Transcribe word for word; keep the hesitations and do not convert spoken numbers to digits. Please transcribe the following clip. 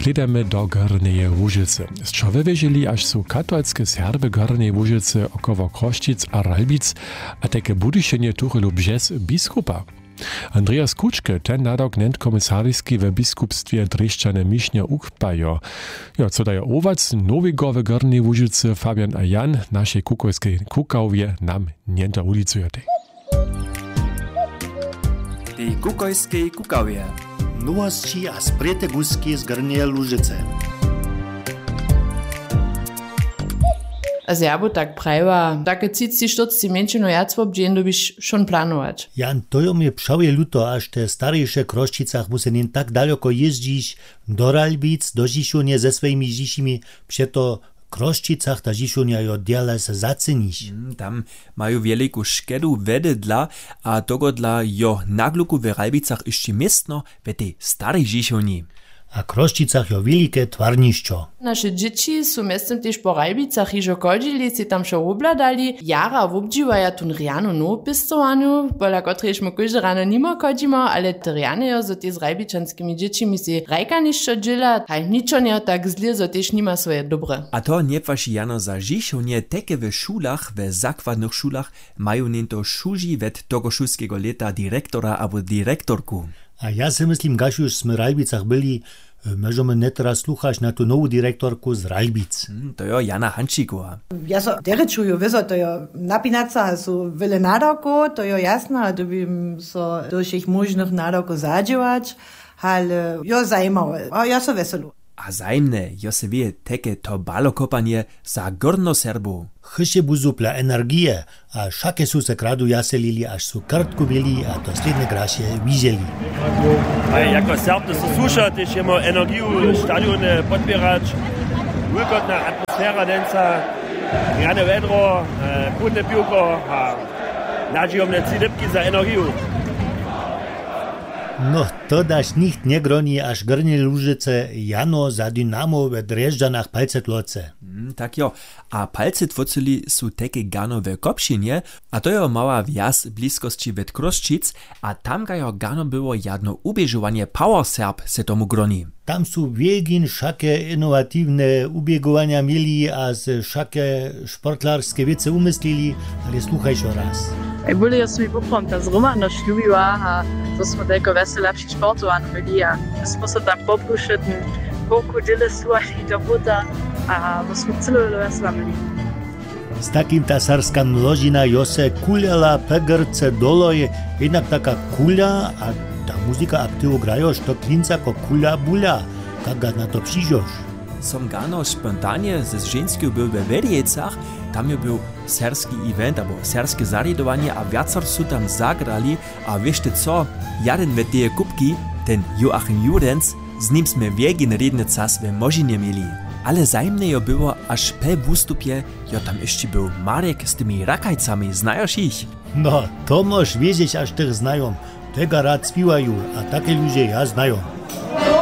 Slědamy do Górneje Łužycy. Sćo wywěžili, až su katolske Serby Górneje Łužycy około Chrósćic a Ralbic a tajke Budyšenje tuchelu bźez biskupa? Andreas Kučke, ten nadawk njenkomisariski we biskupstwje Drježdźany Mišnje ukpajo. Jo, co dajo owoc nowigowy Górnej Łužycy Fabian a Jan našej kukojskej kukawje nam njentohulicujatej. Tej kukojskej kukawje. Nowosći a sprěte guski z Górneje Łužycy. A z jabu tak prajiła, take třici štyrci mjeńšinu wjac wobdźěl dyrbiš wšón planować. Jan, to jo mje přałe luto, až te starejše w Chrósćicach musy nin tak daloko jězdźiš do Ralbic do Žišownje ze swojimi žišimi. Přeto w Chrósćicach ta Žišownja jo djale se zacyniš. Tam maju wjeliku škedu wjedydla a togodla jo na gluku w Ralbicach hyšći městno w tej starej Žišownji. A w Chrósćicach jo wjelike twarnišćo. Naše dźěći su mjeztym tež po Ralbicach hižo chodźili, sej tam wšo wobhladali. Jara wobdźiwaja tón rjanu nowopěstowarnju, pola kotrejež my kóžde rano nimo chodźimo, ale te rjane jo zo tež z ralbičanskimi dźěćimi sej hrajkanišćo dźěla, haj ničo njejo tak zle zo tež nima swoje dobre. A to njepłaši jano za Žišownje, teke w šulach, w zakładnych šulach maju něnto šuži wjed togošulskeho lěta direktora abo direktorku. A ja sej myslim, kaž już smy w Ralbicach byli, móžemy njeteraz sluchać na tu nowu direktorku z Ralbic. To jo Jana Hančikowa. Ja so derje čuju wězo, to jo napinaca a su wjele nadawkow, to jo jasne, a dyrbim so do wšěch móžnych nadawkow zadźěłać. Ale jo zajimawe a ja so wjeselu. A zajimne jo se wěje teke to balokopanje za górnoserbow. Hyšće buzu pla energije, a wšake su se kradu wjaselili, až su kartku měli a to slědnje graše widźeli. A jako serb to se słuša tež jemu energiju stadione podpěrać. Wulkotna atmosfera dźensa, rjane wjedro, chłódne piwko a nadźijomne tři dypki za energiju. No, to daž nicht njegroni, až Górnje Łužice jano za Dynamo we Drježdźanach palce tloce. Tak jo. A palce tłocyli su teke gano we Kopšinje, a to jo mała wjaz w bliskosći wjed Chrósćic, a tamka jo gano było jadno uběžowanje Power Serb se tomu groni. Tam su wjegin wšake inowatiwne uběgowanja měli a se wšake sportlarske wěcy umyslili. Ale słuchaj šo raz. Ej bóle jo smy poprawom ta zhromadnosć lubiła a to smy tajko wjesela při sportowaniu měli a my smy so tam poprušetny, połku dźěle słuchali do buta a my smy cyle wjesela měli. Z takim ta serbska młožina jo se kulała pegrce doloj. Jednak taka kula a ta muzika aktiwu grajo što klinca ko kula bula. Kak ga na to přižoš? Som gano spontanje ze ženskju był we Wěrjecach. Tam je był serbski event abo serbske zarjadowanje a wjacar su tam zagrali. A wěšte co? Jaden we teje kupki, ten Joachim Jurenc, z nim smy wjegin rědny cas we młožinje měli. Ale zajimne jo było, až pje wustupje jo tam hyšći był Marek z tymi rakajcami, znajoš jich? No, to móš wězeć, až tych znajom. Tega rad spiwaju a take ludźe ja znajom.